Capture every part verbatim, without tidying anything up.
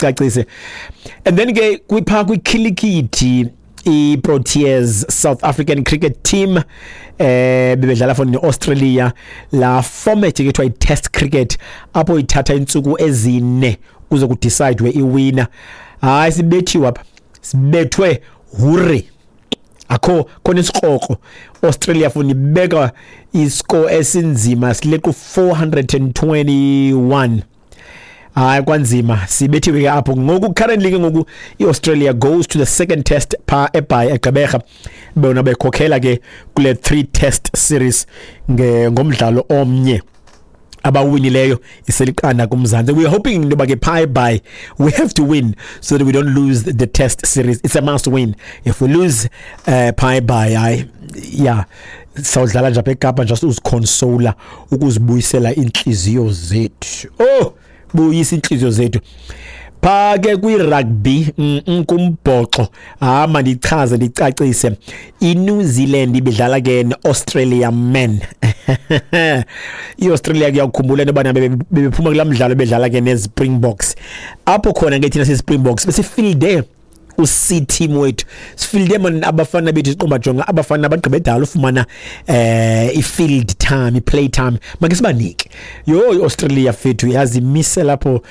Cacise. And then ke kwipha kwikhilikithi, i-Proteas, South African cricket team, eh bebedlala for ne-Australia, la format ke kuthiwa i-test cricket, apho ithatha intsuku ezine kuze ku-decide iwinner. Hayi, sibethiwe apha, sibethwe hure, akho khona isikrokro. Australia funa ibeka iscore esinzima, sileqa four hundred twenty-one. Hayi, kwanzima, sibethiwe ke apho. Ngoku currently ke ngoku iAustralia goes to the second test pha eBhayi, eGqeberha, bona bekhokhela ke kule three test series nge ngomdlalo omnye abawinileyo, iseliqanda kuMzantsi. We are hoping into yoba ke pha eBhayi we have to win so that we don't lose the test series. It's a must win. If we lose uh, pha eBhayi, hayi, yeah, sawudlala nje apha eKapa, just uziconsola, ukuzibuyisela iintliziyo zethu. Oh, buyisa iintliziyo zethu. Pha ke kwi-rugby, mm, mm, kumbhoxo, hama ndichaze ndicacise, iNew Zealand ibidlala ke neAustralia men. IAustralia, kuyakukhumbula into yobana bebephuma kulaa mdlalo bedlala ke neZpringboks, apho khona ke thina siSpringboks besifielde u-C team wethu, sifielde man abafana bethu, siqomba jonga abafana abagqibe dala ufumana eh i-field time, i-play time, make sibanike. Yho, iAustralia fethu yazimise lapho,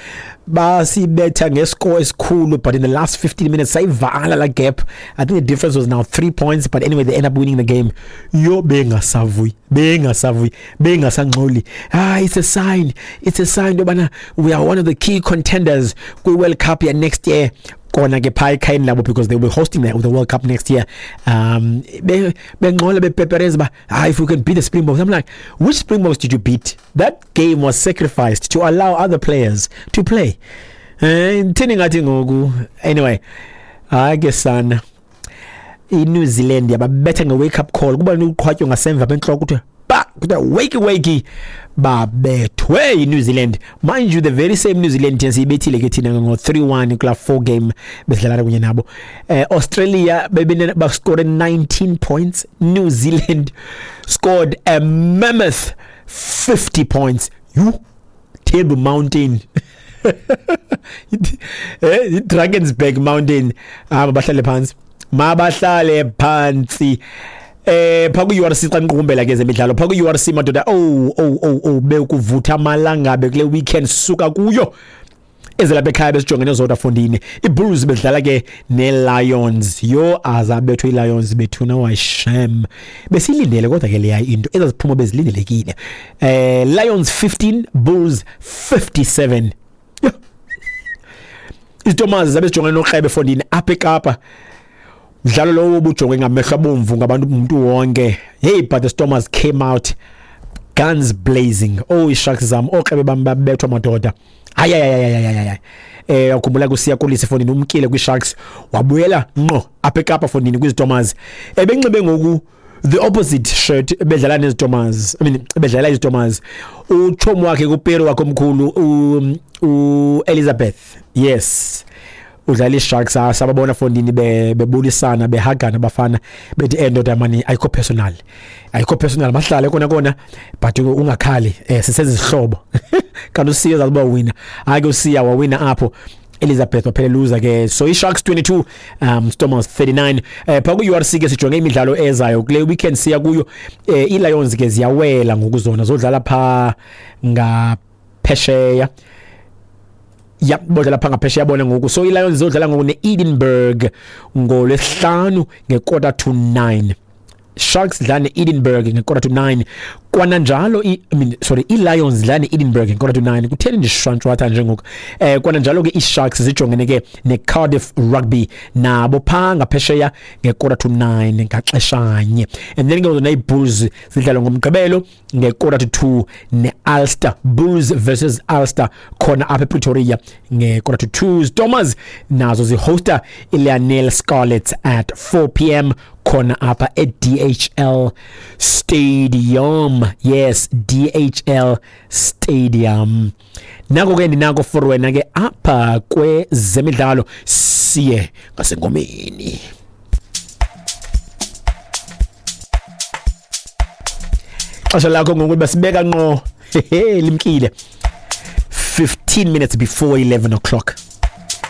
basibetha ngescore esikhulu, but in the last fifteen minutes sayivala la gap. I think the difference was now three points, but anyway, they end up winning the game. Yo, bengasavuyi, bengasavuyi, bengasangxoli. Ah, it's a sign, it's a sign yobana we are one of the key contenders kwi-World Cup ya next year, kona ke phaa ekhayeni labo, because they will be hosting the, the World Cup next year. um bengxola, bepepereza uba, ah, if we can beat the Springboks. I'm like, "Which Springboks did you beat? That game was sacrificed to allow other players to play." Eh, thini ngathi ngoku? Anyway, hayi ke sana, iNew Zealand yababetha nge-wake up call, kuba uqhwatywa ngasemva bentloko, kuthiwa ba kuthiwa wakey wakey, babethwe iNew Zealand. Mind you, the very same New Zealand thina siyibethile ke thina ngo three one kula four game besidlala kunye nabo. eh Australia bebene bascore nineteen points, New Zealand scored a mammoth fifty points. You Table Mountain, eh Drakensberg Mountain, ah, bahlale phansi, mabahlale phansi. Eh pha ku U R C, xa niqukumbela ke zemidlalo pha ku U R C, madoda, oh oh oh oh, bekuvutha amalangabe kule weekend suka kuyo. Ezelapha ekhaya besijongene zodwa fondini, iBulls bedlala ke neLions. Yo, azabethwe iLions bethuna, washem. Besilindele kodwa ke leya into, ezaziphuma bezilindelekile. eh Lions fifteen, Bulls fifty-seven. Yo. Izitomazi zabe sijongene nokrebe fondini apha eKapa, mdlalo lowo ubujongwe ngamehlo abomvu ngabantu, umuntu wonke. Hey, but the Stormers came out guns blazing. Oh, isharks zam, okrebe bam babethwa madoda. Hayi hayi hayi hayi hayi, eh ukhumbula kusiya Kolisi fondini, umkile kwiSharks, wabuyela ngqo apha eKapa fondini kwiZitomers, ebenxibe ngoku the opposite shirt bedlala neZitomers, I mean, bedlala iZitomers. Uchomi wakhe kupero wakhe omkhulu, u Elizabeth, yes, udlala iSharks. Sababona fondini bebulisana, behagana abafana, bethi, "Endoda mani, ayikho personal, ayikho personal, mahlale kona kona, but ungakhali, eh sisezihlobo." Kanti uSiya zakuba wina. Hayi ke, uSiya wawina apho, Elizabeth waphela loser ke. So iSharks twenty-two, um Stormers thirty-nine. eh pha ku U R C ke sijonge imidlalo ezayo kule weekend siya kuyo. eh iLions ke ziyawela ngokuzona, zodlala pha ngaphesheya, ya, bodlala pha ngaphesheya bona ngoku. So iLions zodlala ngoku neEdinburgh ngolwesihlanu ngequarter to nine. Sharks dlala ne-Edinburgh ngequarter to nine kwananjalo, i, I mean, sorry, i-Lions dlala ne-Edinburgh ngequarter to nine. Kutheni ndishwantshwatha njengoku? eh kwananjalo ke i-Sharks zijongene ke ne-Cardiff Rugby nabo phaa ngaphesheya ngequarter to nine ngaxeshanye. And then ke zona ii-Bulls zidlala ngomgqibelo ngequarter to two ne-Ulster, Bulls versus Ulster, khona apha ePretoria ngequarter to two. Stormers nazo zihosta iLionel Scarlets at four p m khona apha e-D H L Stadium. Yes, D H L Stadium. Nako ke ndinako for wena ke apha kwezemidlalo. Siye ngasengomeni. Xesha lakho ngoku basibeka ngqo, hehe, limkile, fifteen minutes before eleven o'clock.